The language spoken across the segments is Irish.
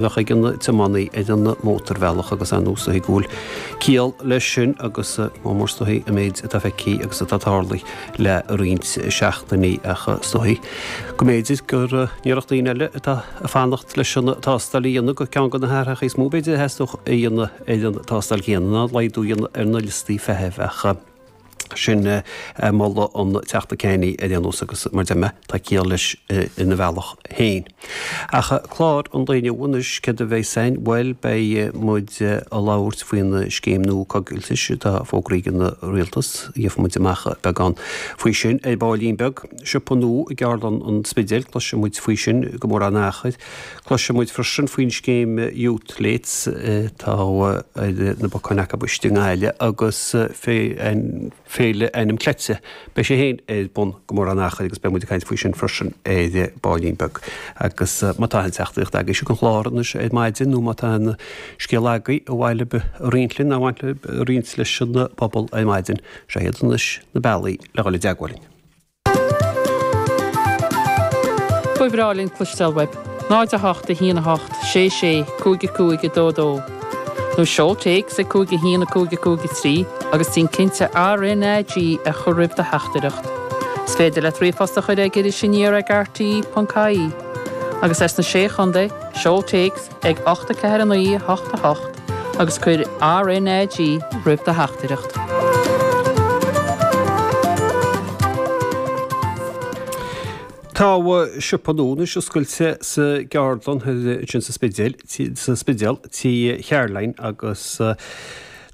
Bheadh ag an tiománaí ar an mótarbhealach agus ar ndóigh is dóichí go bhfuil ciall leis sin agus mór mór is dóichí an méid atá feicthe agus atá tarlaithe le roinnt seachtainí ach is dóichí go mb'fhéidir gur iarracht daoine eile atá ag fanacht leis an tástáil a dhéanamh gur ceann de na hathruithe is mó b'fhéidir a theastódh a dhéanamh ar an tástáil chéanna ná laghdú a dhéanamh ar na liostaí feithimh ach Sin moladh an Teachta Kenny ar aon nós agus mar deir mé, tá ciall leis ina bhealach féin. Ach clár an lae inniu anois, céard a bheas ann? Bhuel, beidh muid ag labhairt faoin scéim nua coigiltis atá fógraithe ag an Rialtas. Gheobhaidh muid amach beagán faoi sin ar baillín beag. Siopa nua i gCeardlann an Spidéil, cloisfidh muid faoi sin go mórán achair. Cloisfidh muid freisin faoin scéim Youth Slates atá ar na bacáin acu istigh i nGaillimh agus Féile Ainm Cleite. Beidh sé féin ar bun go mórán achair agus beidh muid ag caint faoi sin freisin ar baillín beag. Agus má tá aon teachtaireacht agaibh chuig an chlár anois ar maidin nó má tá aon scéal agaibh ar mhaith libh a roinnt linn, ar mhaith libh a roinnt leis an bpobal ar maidin, seo iad anois na bealaí le dhul i dteagmháil linn. Ba bhreá linn cloisteáil uaibh. 0 8 1 8 6 6 5 5 2 2 Nó seol téacs ag 5 1 5 5 3 agus déan cinnte RnaG a chur roimh do theachtaireacht. Is féidir leat ríomhphost a chur ag irisaniar ag rte.ie. Agus as na Sé Chontae, seol téacs ag 8 4 9 8 8 agus cuir RnaG roimh do theachtaireacht. Tá siopa nua anois oscailte sa gceardlann ansin sa Spidéal, sa Spidéal, Tí Charoline agus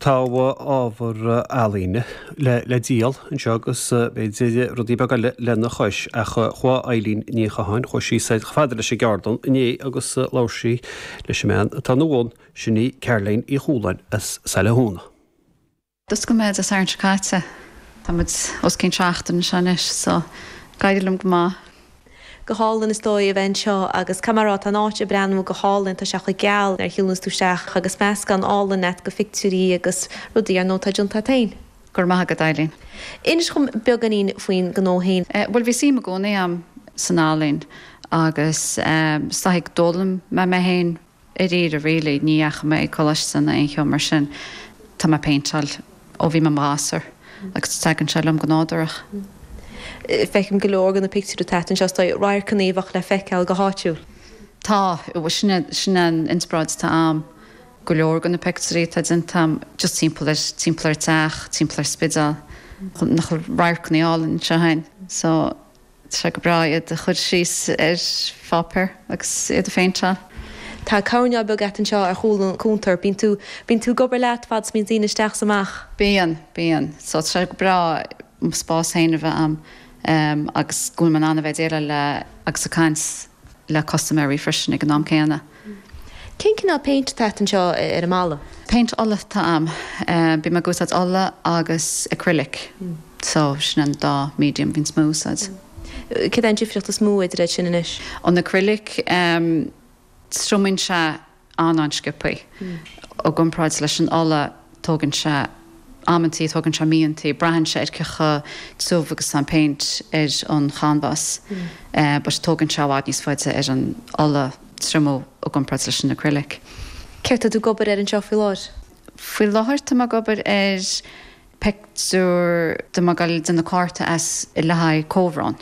tá ábhar ealaíne le díol anseo agus b'fhéidir rudaí beaga eile lena chois ach chuaigh Eileen Ní Chatháin, chuaigh sí soir chomh fada leis an gceardlann inné agus labhair sí leis an mbean atá ina bhun, sin í Caroline Uí Chualáin as Saile Thúna. D'oscail mé Dé Sathairn seo caite. Tá muid os cionn seachtain anseo anois so ag éirí liom go maith. Go hálainn is dóigh a bheith anseo agus caithfidh mé a rá tá an áit ag breathnú go hálainn, tá sé chomh geal nuair a shiúlanns tú isteach agus meascán álainn agat de phictiúirí agus rudaí ar ndóigh atá déanta agat féin. Go raibh maith agat Eileen. Inis dhom beagáinín faoin gnó féin. Bhuel bhí suim i gcónaí a'm san ealaín agus is dóigh d'fhoghlaim mé mé féin dáiríre really, ní dheachaigh mé ag coláiste ná aon cheo mar sin. Tá mé ag péinteáil ó bhí mé i mo ghasúr agus tagann sé liom go nádúrach. Feicim go leor de na pictiúirí atá agat anseo, is dóigh, radharcanna a bheadh le feiceáil go háitiúil. Tá, sin é, sin é an inspioráid atá a'm. Go leor de na pictiúirí atá déanta a'm just timpeall ar, timpeall ar an teach, timpeall ar Spidéal. Nach bhfuil radharcanna álainn anseo a'inn. So. Tá sé go breá iad a chur síos ar pháipéar agus iad a phéinteáil. Tá coirneál beag agat anseo ar chúl an chuntair. Bíonn tú, bíonn tú ag obair leat fad is bíonn daoine isteach is amach. Bíonn, bíonn. So tá sé go breá mo spás féin a bheith a'm agus go bhfuil mé in ann a bheith ag déileáil le agus ag caint le custaiméirí freisin ag an am céanna. Cén cineál péint atá agat anseo ar an mballa? Péint ola atá a'm. Bím ag úsáid ola agus acrylic. So, sin an dá medium a bhíonns mé ag úsáid. Céard é an difríocht is mó idir iad sin anois? An acrylic, triomaíonn sé an-an-sciobthaí. I gcomparáid leis an ola, tógann sé amantaí, tógann sé míontaí, braitheann sé ar cé chomh tiubh agus atá an péint ar an chanbhás. But tógann sé i bhfad níos faide ar an ola triomú i gcomparáid leis an acrylic. Céard tá tú ag obair air anseo faoi láthair? Faoi láthair tá mé ag obair ar pictiúr tá mé ag dul ag déanamh cárta as le haghaidh comhbhrón.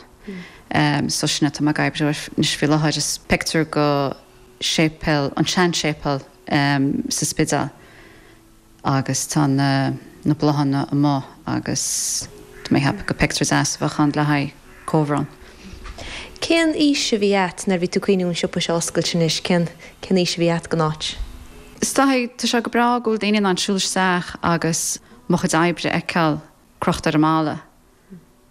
So sin atá mé ag oibriú air anois faoi láthair. Is pictiúr go séipéal, an sean-séipéal sa Spidéal agus tá na na bláthanna amuigh agus tá mé ag ceapadh go pictiúr deas a bheadh ann le haghaidh comhbhrón. Cén fhís a bhí a't nuair a bhí tú ag cuimhniú an siopa seo a oscailt anois, cén cén fhís a bhí a't don áit? Is dóigh, tá sé go breá go bhfuil daoine in ann siúl isteach agus mo chuid oibre a fheiceáil crochta ar an mballa.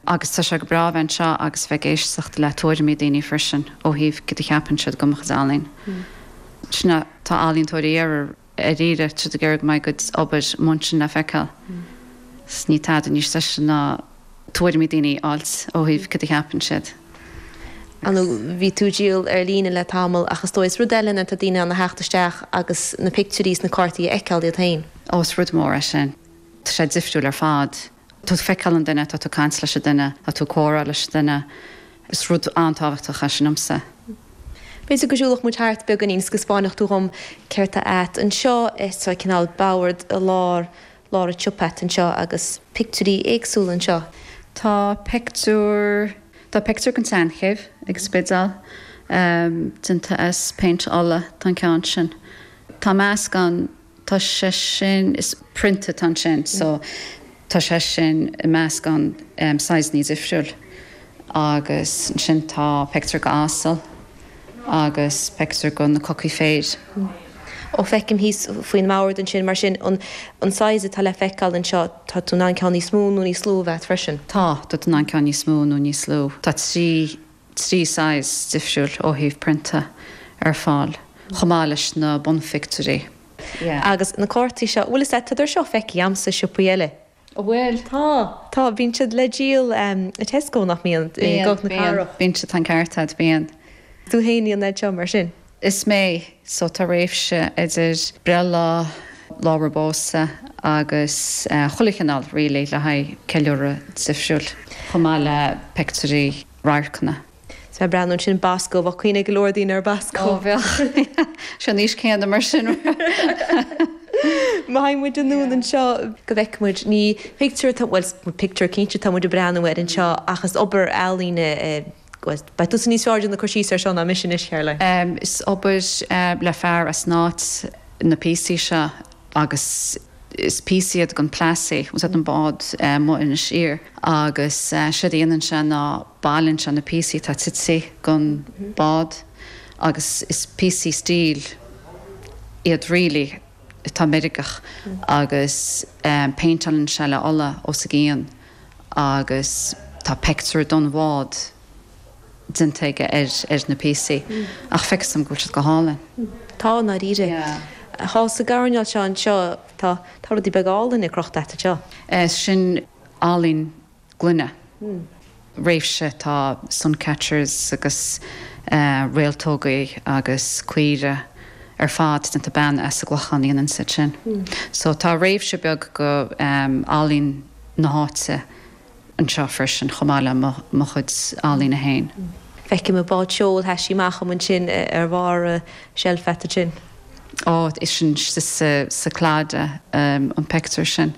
Agus tá sé go breá a bheith anseo agus bheith ag éisteacht le tuairimí daoine freisin ó thaobh céard a cheapann siad de mo chuid ealaín. Sin é, tá ealaíontóirí ar dáiríre, tá siad ag iarraidh go mbeidh a gcuid obair amuigh ansin le feiceáil. 'S níl tada níos deise ná tuairimí daoine a fháilt ó thaobh céard a cheapann siad. Ar ndóigh, bhí tú ag díol ar líne le tamall ach is dóigh is rud eile nuair atá daoine in ann a theacht isteach agus na pictiúirí is na cártaí a fheiceáil iad féin. Ó, is rud mór é sin. Tá sé difriúil ar fad. Tá tú ag feiceáil an duine, tá tú ag caint leis an duine, tá tú ag comhrá leis an duine. Is rud an-tábhachtach é sin domsa. B'fhéidir go siúlfadh muid thart beagáinín is go 'spáinfeadh tú dhom céard tá a't anseo. Tá cineál bord i lár, lár an tsiopa a't anseo agus pictiúirí éagsúla anseo. Tá pictiúr, tá pictiúr den tSeanchéibh ag an Spidéal, déanta as péint ola, tá an ceann sin. Tá meascán. Tá sé sin, is prionta atá ansin so tá sé sin i meascán saghsanna difriúil agus ansin tá pictiúr de asal agus pictiúr de na cocaí féir. Ó feicim thíos faoin mbord ansin mar sin an an saghas atá le feiceáil anseo tá tú in ann ceann níos mó nó níos lú a bheith freisin? Tá, tá tú in ann ceann níos mó nó níos lú. Tá 3 3 saghas difriúil ó thaobh prionta ar fáil, chomh maith leis na bunphictiúirí. Agus na cártaí seo, bhfuil fhios a't, tá siad seo feicthe a'msa i siopaí eile. An bhfuil? Tá, tá, bíonn siad le díol i Tesco, nach mbíonn? I gCnoc na Cathrach. Bíonn, bíonn siad, tá an ceart a't, bíonn. Tú fhéin a dhéanann iad seo mar sin? Is mé, so tá réimse idir breithlá, lá roimh pósadh agus chuile chineál really le haghaidh ceiliúradh difriúil, chomh maith le pictiúirí radharcanna. Is mé ag breathnú ansin Bosco, bheadh cuimhne ag go leor daoine ar Bosco. Ó bheadh, sé an aois céanna mar sin. Má théann muid anonn anseo go bhfeicfidh muid, ní pictiúr atá, bhuel pictiúr cinnte atá muid ag breathnú air anseo ach is obair ealaíne, bhuel beidh tusa níos fearr ag déanamh cur síos air seo ná mise anois, Caroline. Is obair le fear as an áit na píosaí seo agus is píosaí iad den Plassey, bhfuil a fhios a't an bád amuigh in Inis Oírr, agus séard a dhéanann sé ná bailíonn sé na píosaí atá tite den bád agus is píosaí steel iad really atá meirgeach agus péinteálann sé le ola os a gcionn agus tá pictiúr den bhád déanta aige ar na píosaí ach feictear dom go bhfuil siad go hálainn. Tá, i ndáiríre. Thall sa gcoirnéal seo anseo, tá, tá rudaí beaga álainne crochta a't anseo. Sin ealaín gloine. Réimse, tá suncatchers agus réaltógaí agus caoire ar fad déanta bean as an gClochán a dhéanann iad sin. So tá réimse beag go ealaín na háite. anseo freisin, chomh maith le mo chuid ealaíne féin. Feicim an bád seoil, sheas sí amach dhom ansin ar bharr an tseilf a't ansin. Ó, is sin sa Claddagh an pictiúr sin.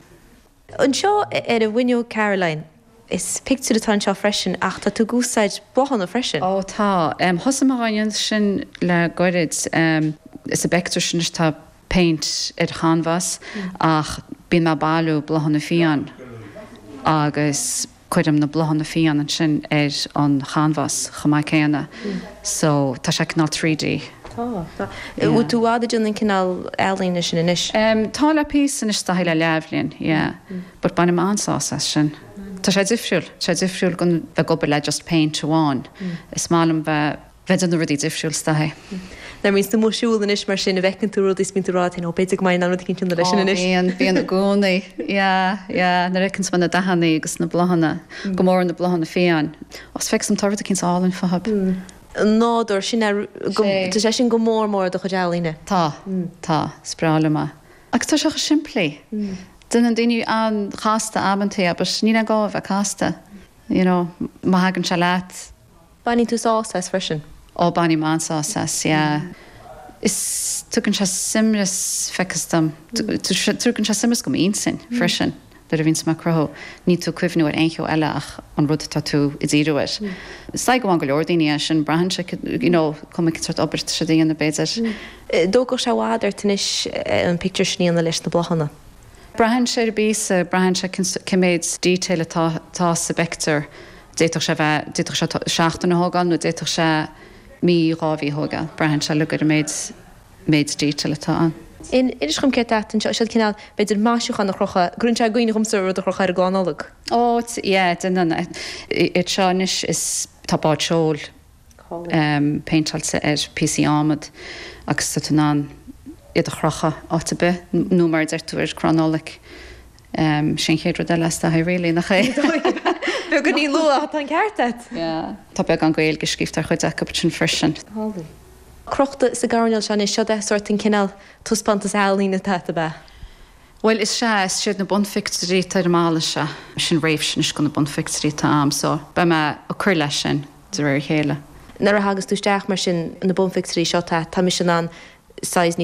Anseo ar an bhfuinneog Caroline, is pictiúr atá anseo freisin ach tá tú ag úsáid bláthanna freisin. Ó tá. Thosaigh mé á dhéanamh sin le goirid. Sa bpictiúr sin anois tá péint ar chanbhás ach bíonn mé ag bailiú bláthanna fiáin agus cuirim na bláthanna fiáin ansin ar an chanbhás chomh maith céanna so tá sé cineál 3D. Tá, tá. Bhfuil tú i bhfad ag déanamh an cineál ealaíne sin anois? Tá le píosa anois is dóichí le leathbhliain, yeah. But bainim an-sásamh as sin. Tá sé difriúil, tá sé difriúil gon bheith ag obair le just péint amháin. Is maith liom bheith bheith ag déanamh rudaí difriúil is dóichí. Nuair a bhíonns tú amuigh ag siúl anois mar sin, an bhfeiceann tú rudaí is bíonn tú ag rá leat féin, ó b'fhéidir go mbeinn in ann rud eicínt a dhéanamh leis sin anois. Ó bíonn, bíonn i gcónaí. Yeah, yeah, nuair a fheiceann tú na dathanna agus na bláthanna, go mór na bláthanna fiáin. Ó is feictear dom tá rud eicínt álainn fúthu. An nádúr, sin é, tá sé sin go mór mór i do chuid ealaíne. Tá, tá, is breá liom é. Agus tá sé chomh simplí. Déanann daoine an-chasta amantaí é but níl aon gá a bheith casta, you know, má thagann sé leat. Baineann tú sásamh as freisin? Ó, bainim an-sásamh as, yeah. Is tugann sé suaimhneas, feictear dom. Tugann sé suaimhneas go m'intinn freisin nuair a bhíonns mé ag cruthú. Níl tú ag cuimhniú ar aon cheo eile ach an rud atá tú ag díriú air. Is dóigh go bhfaigheann go leor daoine é sin, braitheann sé, you know, cuma cén sórt obair atá siad a dhéanamh b'fhéidir. Dtógfadh sé i bhfad ort anois an pictiúr sin a dhéanamh leis na bláthanna? Braitheann sé ar an bpíosa, braitheann sé cén méid detail atá atá sa bpictiúr. D'fhéadfadh sé bheith, d'fhéadfadh sé seachtain a thógáil nó d'fhéadfadh sé mí, 2 mhí a thógáil. Braitheann sé uilig ar an méid, méid detail atá ann. Inis dhom céard atá anseo, siad cineál, b'fhéidir maisiúchán a chrochadh, cuireann sé i gcuimhne dhomsa rud a chrochadh ar an gclann Nollag. Ó, yeah, déanann. Iad seo anois is, tá bád seoil. péinteáilte ar phíosaí adhmad agus tá tú in ann iad a chrochadh áit ar bith nó mar a deir tú ar crann Nollag. Sin an chéad rud eile is dóichí really, nach é? Beagáinín luath, tá an ceart agat. Yeah. Tá beagán Gaeilge scríofa ar chuid acu sin freisin. Crochta sa gcoirnéal seo anois, seo é sórt an cineál taispeántas ealaíne atá agat, ab ea? Bhuel, is ea, is iad na bunphictiúirí atá ar an mballa seo. Sin réimse anois de na bunphictiúirí atá a'm, so beidh mé ag cur leis sin de réir a chéile. Nuair a thagas tú isteach mar sin, na bunphictiúirí seo, tá, tá mise in ann size níos.